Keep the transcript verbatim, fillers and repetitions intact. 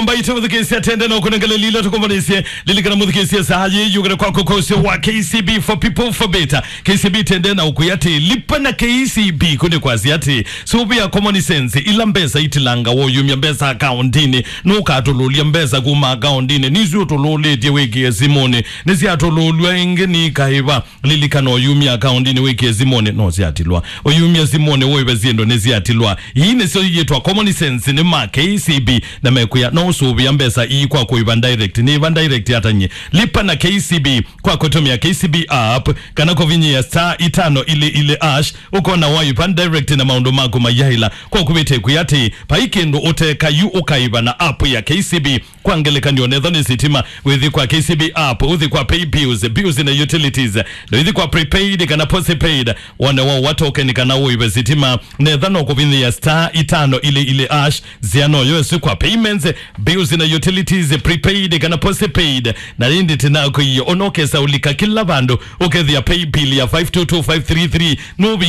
Mbaitũ mũthikĩĩsya, tende na ũkũnengele lila tũkombonisye. Lilikana mũthikĩĩsya, saa yĩ yũkĩte kwako kwa ũseo wa K C B for people for better. K C B tende na ũkwĩa atĩ, lipa na K C B kũnĩ kwasya atĩ, sũvĩa common sense, ila mbesa itilanga woyumya mbesa akaundinĩ, nũkatũlũlya mbesa kuma akaundinĩ, nisu ũtũlũlĩtye wĩkĩe simũnĩ, nĩsyatũlũlw'a ĩngĩ nĩ kaĩva. Lilikana, ũyumya akaundinĩ wĩkĩe simũnĩ no syatilwa. Ũyumya simũnĩ wĩve syĩndũ nĩsyatilwa. Ii nĩsyo iyĩtwa common sense nĩ ma K C B, na mekwĩa no ũsũvĩa mbesa ii kwa kũiva direct. Nĩ iva direct ata nyie? Lipa na K C B kwa kũtũmĩa K C B app kana kũvinyĩa star itano ili ili hash, ũkona waiva direct na maũndũ maku mayaĩla. Kwa kũvĩte kwĩ atĩ, vai kĩndũ ũteka yu ũkaiva na app ya K C B. Kwa ngelekany'o, netho nĩ sitima, wĩthi kwa K C B app, ũthi kwa pay bills, bills na utilities, na wĩthi kwa prepaid kana postpaid, wone wa wa token kana ũive sitima. Netha no kũvinyĩa star itano ili ili hash, zia no yosi kwa payments, bills na utilities, prepaid kana postpaid, na ĩndĩ tena kũiyo onokesa ũlika kila vandũ, ũkethĩa pay bill ya five two two five three three, nũvi